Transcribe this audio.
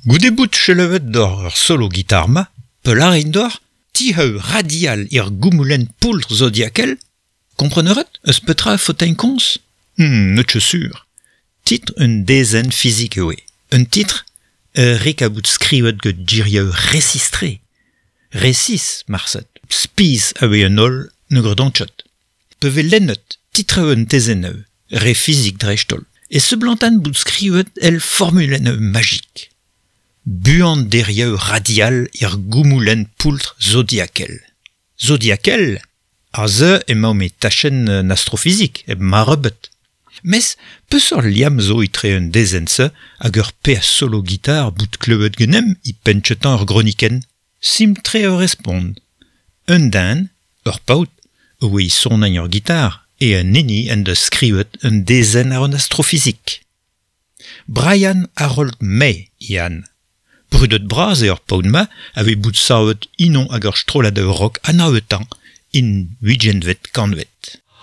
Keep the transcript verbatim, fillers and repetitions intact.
Goude bout chelevet d'or ur solo gitar ma, peularin d'or, tiheu radial ir goumoulen poultr zodiakel, kompreneret eus petra fotein komz? Hmm, neut ket sur. Titr un dezenn fizik eo. Un titr ur rik a bout skrivet get girieu resistre. Resis, marset, spiz a oe un holl ne gredant chot. Peve lennet titre un tezenn re fizik dreistholl, e seblantan bout skrivet el formulenn magik. Buan derieu radial ir goumoulen poultr zodiakel. Zodiakel? Ar ze emañ me tachenn an astrofizik, eb marrebet. Mes peseurt liamm zo etre un dezenn-se hag ur pe solo gitar bout kleuet genem i penchetan ur groniken. Sim-tre ur respond. Un den, ur paotr, oe sonañ ur gitar, e un hini en deus skrivet un dezenn ar an astrofizik. Brian Harold May, Ian. Brudet bras eo ur paotr-ma a vez bout savet inon hag ur strollad rock anavetan in huigenvet kanvet.